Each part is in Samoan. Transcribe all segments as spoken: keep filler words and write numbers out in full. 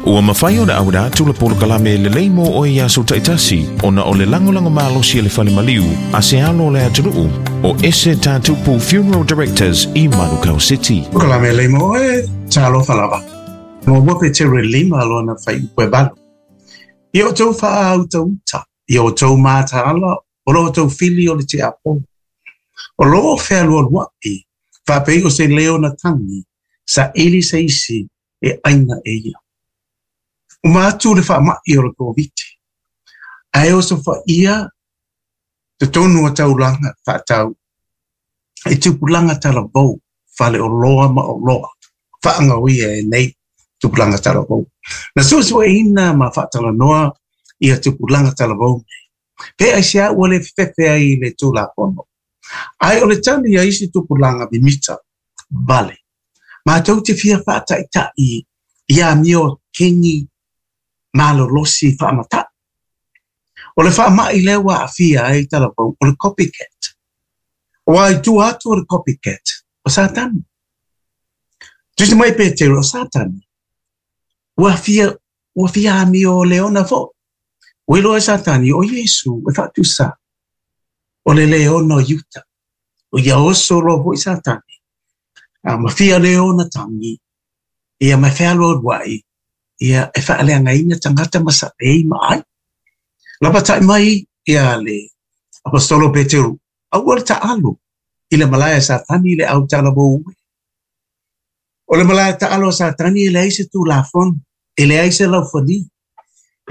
Ua mafai ona auina atu le polokalame lelei mo oe i aso taitasi ona o le lagolago malosi a le fale maliu a se alo o le atunuu o Ese Tatupu Funeral Directors i Manukau City. Polokalame lelei mo oe, talofa lava. Muamua Peteru e lima lona fuaiupu e valu. Ia outou faautauta, ia outou mataala, o lo outou fili o le tiakono. O lo o fealualuai, faapei o se leona tagi, saili se isi e aina e ia. Uma atu le faamai o le Koviti. Ae osofaia totonu o taulaga faatau i tupulaga talavou faleoloa ma oloa faagaoia e nei tupulaga talavou. Na suesueina ma faatalanoa ia tupulaga talavou nei. Pe aisea ua le fefefe ai i le Tulafono. Ae o le tali a isi tupulaga mimita vale. Matou te fia faataitai i amio keni malolosi faamatai. O le faamai lea ua aafia ai talavou o le copycat. Aua i tua atu o le copycat, o Satani. Tusi mai Peteru, o Satani. Ua fia, ua fia amio leona foi. Ua iloa e Satani, o Iesu e faatusa o le leona o Iuta. O ia oso loa foi Satani. A ma fia leona tagi, ia ma fealualuai, ia e faaleagaina tagata ma saei ma ai. Lapatai mai ia le Aposetolo Peteru, aua le taalo i le malae a Satani le au talavou e. O le malae taalo a Satani e leai se Tulafono, e leai se laufali.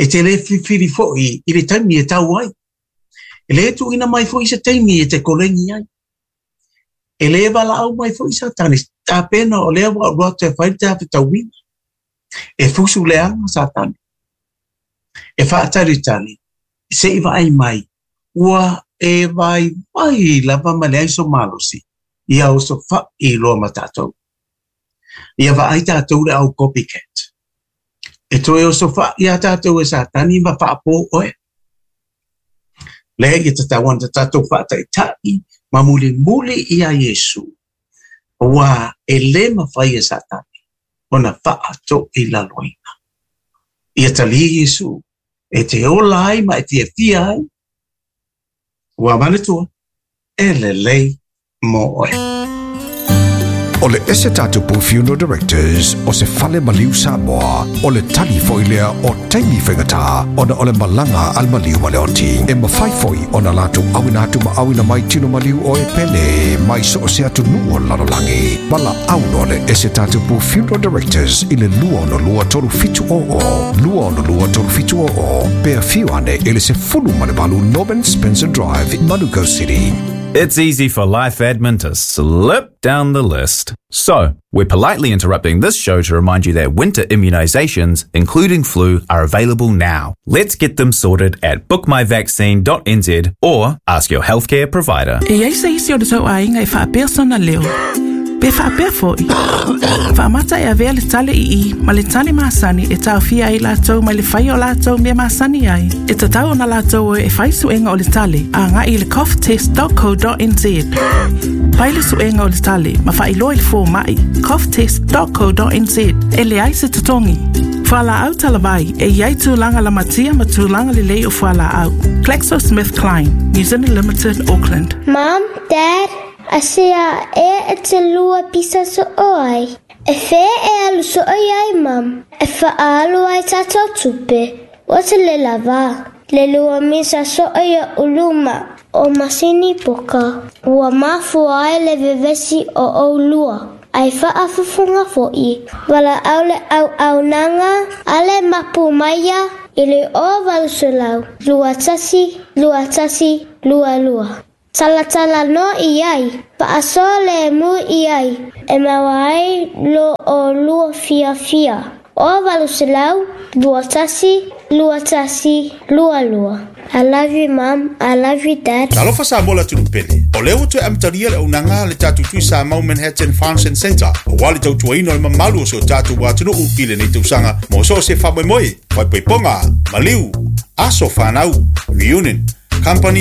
E te le filifili foi i le taimi e tau ai. E le tuuina mai foi se taimi e te koleni ai. E le valaau mai foi Satani, tapena o lea ua alu atu e fai le tafetauina. E fusu leaga Satani. E faatalitali, se i vaai mai, ua e vaivai lava ma leai so malosi, ia osofai loa ma tatou. Ia vaai tatou le au copycat. E toe osofai iā tatou e Satani ma faapo oe. Lea ia tatau ona tatou faataitai ma mulimuli iā Iesu, aua e le mafai e Satani ona faatoilaloina. Ia talia Iesu e te ola ai ma e fiafia ai. Ua manatua, e lelei mo oe. O le Ese Tatupu Funeral Directors o se fale maliu Samoa, o le tali foi lea o taimi faigata ona o le malaga a le maliu ma le oti. E mafai foi ona latou auina atu ma auina mai tino maliu o e pele mai so o se atunuu o le lalolagi. Valaau loa le Ese Tatupu Funeral Directors i le lua ono lua tolu fitu o o, lua ono lua tolu fitu o o, pe afio ane i le sefulu ma le valu Norman Spencer Drive, Manukau City. It's easy for life admin to slip down the list. So, we're politely interrupting this show to remind you that winter immunizations, including flu, are available now. Let's get them sorted at book my vaccine dot n z or ask your healthcare provider. E iai se isi o le tou aiga e faapea sona leo. Pe faapea foi. Faamata e avea le tale i i ma le tale masani e taofia ai latou mai le faia o latou mea masani ai. E tatau ona latou o e fai suega o le tale a agai i le cough test dot co dot n z. Fai le suega o le tale ma faailoa i le fomai cough test dot co dot n z e leai se totogi. Fualaau talavai e iai tulaga lamatia ma tulaga lelei o fualaau. GlaxoSmithKline, New Zealand Limited, Auckland. Mom, Dad, asia e e te lua pisa so oai. E fe e alu so oi ai, Mom. E fa alu ai tatou tupe. O te le lava. Le lua misa so oi o uluma. O masini poka. Ua mafua ai le vevesi o o lua. Ai faafufunga foi. Wala au le au au nanga. Ale mapu maia. I le o valu selau. Lua tasi, lua tasi, lua lua. Talatala no i ai, paaso le mu i ai, e maua ai lo o lua fia fia. O valu selau, lua tasi, lua tasi, lua lua. I love you, Mom. I love you, Dad. Talofa Samoa le atunuu pele. O lea ua toe amatalia le auaunaga a le tatou Tui Samoa Manhattan Function Center. Aua le tautuaina o le mamalu o si o tatou atunuu i lenei tausaga mo so o se faamoemoe, faaipoipoga, maliu, aso fanau, reunion, company